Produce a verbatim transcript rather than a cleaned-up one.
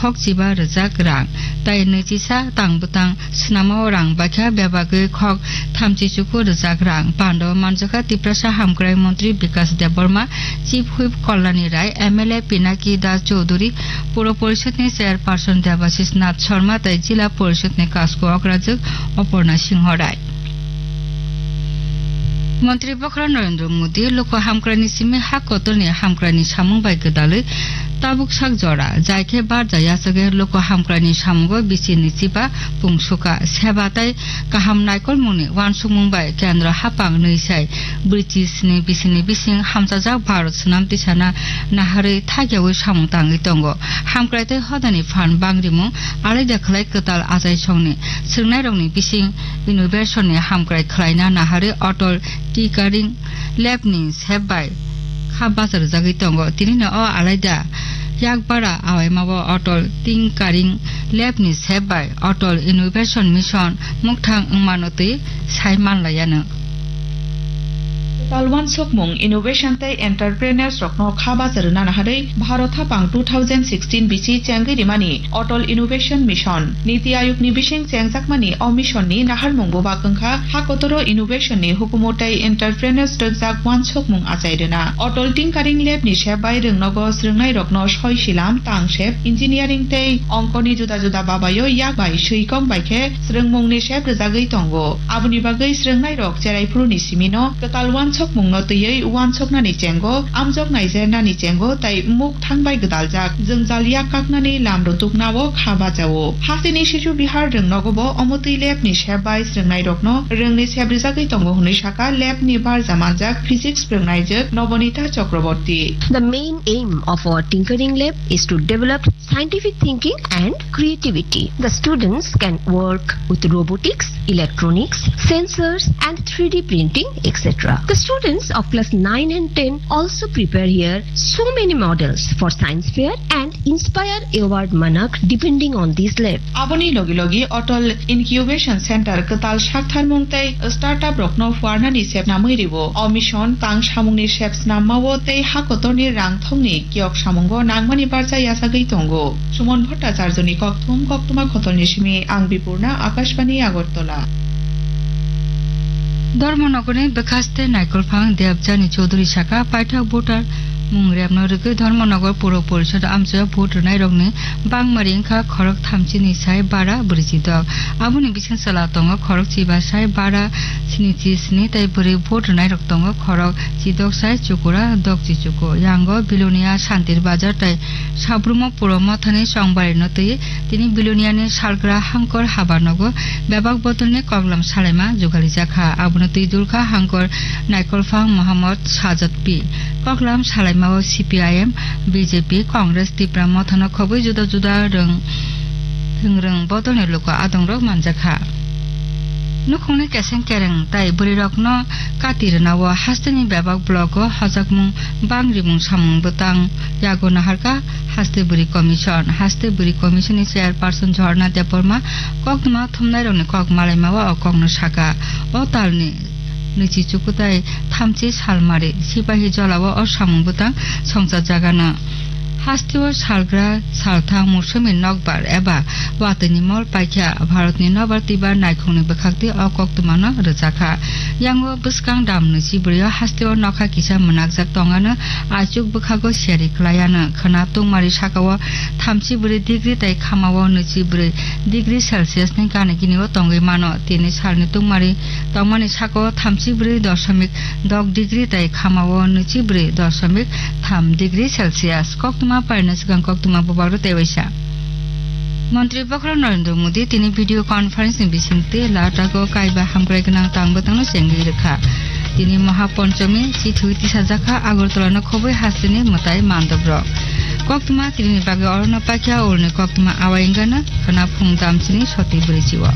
khok chiba rwjak rang, tai nwichisa tang bwtang swnamao rang baikha bebagwi khok thamchi chuku rwjak rang. Pando manjakha Tiprasa Hamkrai Montri Bikas Debbarma, Chief Whip Kalyani Rai, M L A Pinaki Das Chowdhury, Puro Porishadni Chairperson Debashis Nath Sharma tei Jila Porishadni Kasko Okrajwk Oporna Singho Rai. Montri Bokhorok Narendra Modi loko hamkraini simi ha kotorni hamkraini samung bai gwdalwi tabuk sak jora, jai khe barja yachagwi loko hamkraini samungo bichirni chiba pungsuka, seba tei kaham naikolmungni uansukmung bai kendro haphang nwi sai brwichi sni bisini bising hamchajak Bharat swnam tisana naharwi thakyawi samung tangwi tongo. Hamkrai tei hodani phan bangrimung alaida khlai kwtal achaisongni swrwngnairokni bising innovation ni hamkrai khlaina naharwi Atal Tinkering Lab ni sep bai kha bacha rwjagwi tongo. Tinino o alaida yakbara awaimao Atal Tinkering Lab ni sep bai Atal Innovation Mission mukthang wngmano twi sai manlaiano. Kwtal uansukmung, innovation tei entrepreneurs rokno kha bacha rwna naharwi Bharat haphang two thousand sixteen bichi chengwi rimani Atal Innovation Mission. Niti Ayog ni bising chengjakmani o mission ni naharmung bubak wngkha ha kotoro innovation ni hukumu tei entrepreneurs rwkjak uansukmung achai rwna. Atal Tinkering Lab ni sep bai rwngnogo swrwngnairokno soi silam, tangsep, engineering tei ongkoni juda juda babaio yak bai swi kok bai khe swrwngmungni sep rwjagwi tongo. Aboni bagwi swrwngnairok cheraiphuruni simino kwtal uansukmungno twiwi uansuknani chengo, amjok naijernani chengo tei mukthang bai gwdaljak jwngjal yak kaknani lam rwtuknao kha bachao. Hasteni sichu bihar rwngnogobo omotwi lab ni sep bai swrwngnairokno rwngni sep rwjagwi tongo hwnwi sakha lab ni barja manjak physics swrwngnaijwk Nobonita Chakraborty. The main aim of our tinkering lab is to develop scientific thinking and creativity. The students can work with robotics, electronics, sensors, and three D printing, et cetera. The students of class nine and ten also prepare here so many models for science fair and inspire award monarch depending on this lab. Aboni logi logi Atal Incubation Center kwtal saktharmung tei startup rokno phuarnani sep namwi rwo. O mission tang samungni sep snammao tei hakotorni rang thongni kiyok samungo nangmani barja yachagwi tongo. Suman Bhattacharjoni kokthum, koktwma khotolni simi ang Bipurna, Akashbani Agartala. Dharmanagarni bwkhaste Naikolphang Debjani Chaudhuri saka paithak voter mung repno rwgwi Dharmanagar Puro Porishod amchaio vote rwnairokni bangmari wngkha khorok thamchini sai bara brwichi dok. Aboni bising chwla tongo khorok chiba sai bara sinichi sni tei bwrwi vote rwnairok tongo khorok chidok sai chukura dokchi chuku. Yango Bilonia, Santir Bazar tei Sabrumo Puro Mothani chongbarino twi tini Biloniani salgra Hangkor habanogo bebak bodolni koklam salaima jugalijak kha. Abono twi dulkha Hangkor Naikolphang Mohammad Sajad P. Koklam salaimao C P I M, B J P, Congress, Tipra Mothano khobwi juda juda rwng, thwngrwng bodolni luku adongrok manjakha. Nukhungni keseng kereng tai bwrwirokno kati rwnao hasteni bebak blogo hojakmung bangrimung samung bwtang yago naharkha Haste Bwrwi Commission. Haste Bwrwi Commissionni chairperson Jhorna Debbarma koktwma thumnairokni kok malaimao o kokno saka. O talni nwichi chukutai thamchi salmari sipahi jolao o samung bwtang songchajagano. Hasteo salgra salthang musumi nokbar eba watwini mol paikha Bharatni nobar twibar naikhungni bwkhaktwi o koktwmano rwjakha. Yango bwskang dam nwichi bwrwio hasteo nokha kisa mwnakjak tongano, aichuk bwkhago siyari kwlaiano. Khwna tungmari sakao thamchi bwrwi degree tei khamao nwichi bwrwi degree Celsius ni gana gini o tongwi mano. Tini salni tungmari tongmani sakao thamchi bwrwi doshomik dok degree tei khamao nwichi bwrwi doshomik tham degree Celsius. Koktwma pairwna swkang koktwma bubagrok tei waisa. Montri Bokhorok Narendra Modi tini video conference ni bisingtwi Ladakh o kaiba hamkrai gwnang tang bwtangno chengwi rwkha. Tini Maha Ponchomi chithwi tisajakha Agartala no khobwi hasteni mwtai mandobrok. Koktwma tini ni bagwi orono paikha ulni koktwma awai wngano khwna phung damchini soti bwrwichi o.